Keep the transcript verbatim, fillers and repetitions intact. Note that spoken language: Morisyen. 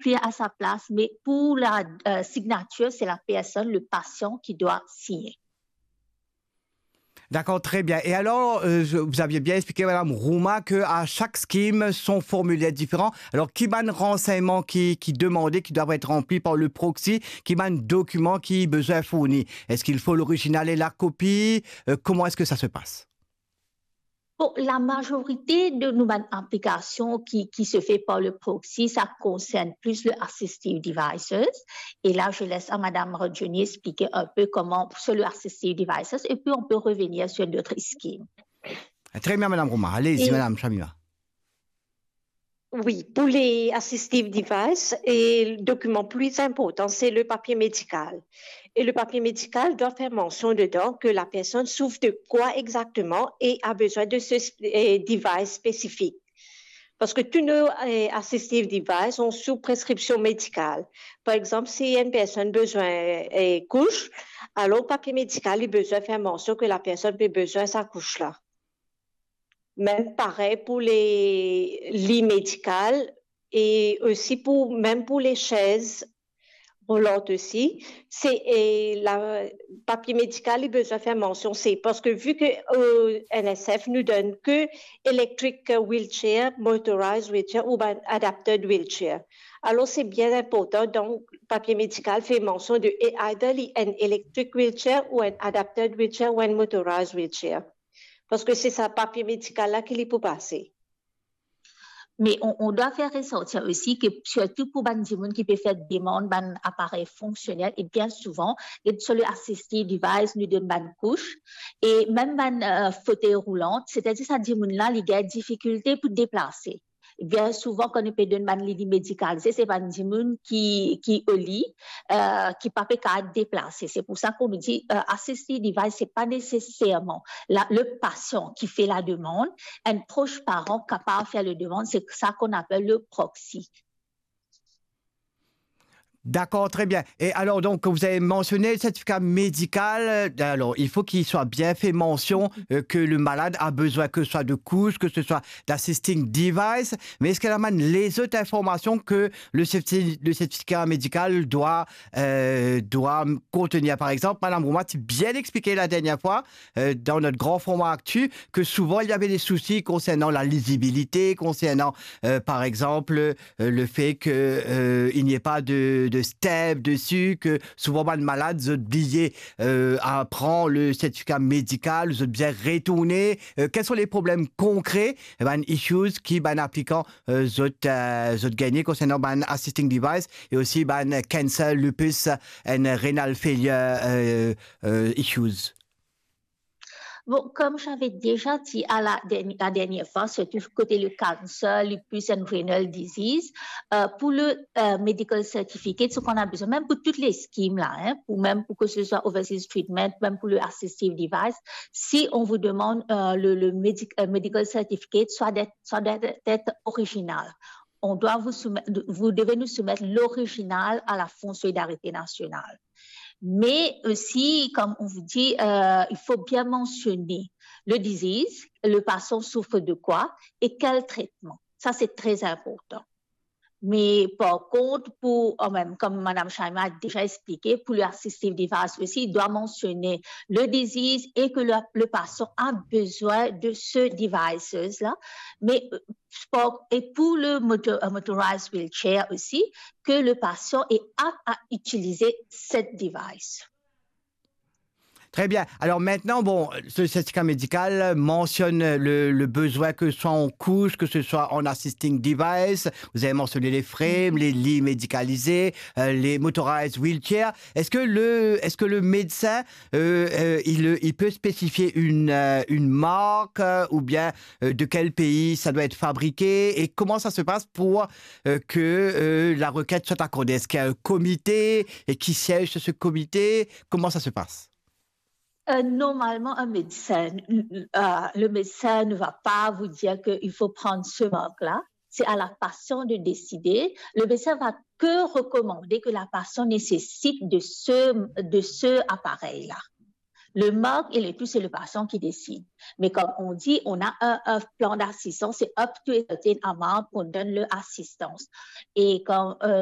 écrit à sa place, mais pour la, euh, signature, c'est la personne, le patient qui doit signer. D'accord, très bien. Et alors, euh, je- vous aviez bien expliqué, Madame Rouma, que à chaque scheme, son formulaire est différent. Alors, ki bann renseignements qui, qui demandent, qui doivent être remplis par le proxy, ki bann dokiman ki bizin fourni? Est-ce qu'il faut l'original et la copie? Euh, comment est-ce que ça se passe? Bon, la majorité de nos ban-, applications qui, qui se fait par le proxy, ça concerne plus le assistive devices. Et là, je laisse à Madame Rodjoni expliquer un peu comment sur le assistive devices, et puis on peut revenir sur d'autres schemes. Très bien, Madame Rouma. Allez-y, Et Madame Shamima. Oui, pour les assistive devices, et le document plus important, c'est le papier médical. Et le papier médical doit faire mention dedans que la personne souffre de quoi exactement et a besoin de ce, euh, device spécifique. Parce que tous nos, euh, assistive devices sont sous prescription médicale. Par exemple, si une personne a besoin, euh, couche, alors le papier médical, il a besoin faire mention que la personne a besoin de sa couche-là. Même pareil pour les lits médicaux et aussi pour, même pour les chaises roulantes aussi. C'est, et la, papier médical, il a besoin faire mention, c'est parce que vu que, euh, N S F nous donne que electric wheelchair, motorized wheelchair ou ben adapted wheelchair. Alors, c'est bien important, donc, papier médical fait mention de e-, either li enn electric wheelchair ou enn adapted wheelchair ou enn motorized wheelchair. Parce que c'est sa papier médical la ki li pou pase. Mais on, on doit faire ressortir aussi que surtout pour bann dimoun ki pe fer demann bann aparey fonksionel, et bien souvent, et sur le assistive device, nou donn bann kouch, e mem bann, euh, fotey roulant, c'est-à-dire sa dimoun la, li gagn difikilte pou deplase. Bien souvent, kan nou pe donn bann lili medikalize, se bann dimoun ki, ki oli, euh, ki pa pe kapav deplase. C'est pour ça qu'on nous dit, euh, assistive device, c'est pas nécessairement la, le patient qui fait la demande, un proche parent capable de faire la demande, c'est ça qu'on appelle le proxy. D'accord, très bien. Et alors, donc, vous avez mentionné le certificat médical. Euh, alors, il faut qu'il soit bien fait mention, euh, que le malade a besoin que ce soit de couches, que ce soit d'assisting device. Mais est-ce qu'il y a les autres informations que le certi-, le certificat médical doit, euh, doit contenir? Par exemple, Madame Rouma a bien expliqué la dernière fois, euh, dans notre grand format actu, que souvent, il y avait des soucis concernant la lisibilité, concernant, euh, par exemple, euh, le fait que, euh, il n'y ait pas de, de stamp dessus, que souvent, bann malad, zot bliye, euh, a pran le certificat médical, zot bizin retourne. Euh, quels sont les problèmes concrets, eh ben, issues ki bann aplikan, euh, zot, euh, zot gagne concernant bann assisting device et aussi bann cancer, lupus and renal failure, euh, euh, issues? Bon, comme j'avais déjà dit à la dernière, la dernière fois, surtout côté le cancer, lupus and renal disease, euh, pour le, euh, medical certificate, ce qu'on a besoin, même pour toutes les schemes là, hein, pour, même pour que ce soit overseas treatment, même pour le assistive device, si on vous demande, euh, le, le medic-, euh, medical certificate, soit d'être, soit d'être, d'être original. On doit vous soumettre, vous devez nous soumettre l'original à la Fonds Solidarité Nationale. Mais aussi, comme on vous dit, euh, il faut bien mentionner le disease, le patient souffre de quoi et quel traitement. Ça, c'est très important. Mais par contre, pour, euh, même comme Madame Shamima a déjà expliqué, pour le assistive device aussi, il doit mentionner le disease et que le, le patient a besoin de ce device-là. Mais, euh, pour, et pour le moto-, euh, motorized wheelchair aussi, que le patient est apte à utiliser cette device. Très bien. Alors maintenant, bon, ce certificat médical mentionne le, le besoin que ce soit en couche, que ce soit en assisting device. Vous avez mentionné les frames, les lits médicalisés, euh, les motorized wheelchairs. Est-ce que le, est-ce que le médecin, euh, euh, il, il peut spécifier une, euh, une marque, euh, ou bien, euh, de quel pays ça doit être fabriqué et comment ça se passe pour, euh, que, euh, la requête soit accordée? Est-ce qu'il y a un comité et qui siège sur ce comité? Comment ça se passe? Euh, normalement, un médecin, euh, le médecin ne va pas vous dire qu'il faut prendre ce marque-là. C'est à la patiente de décider. Le médecin va que recommander que la patiente nécessite de ce, de ce appareil-là. Le marque et le tout, c'est le patient qui décide. Mais comme on dit, on a un, un plan d'assistance, c'est up to a certain amount qu'on donne l'assistance. Et quand, euh,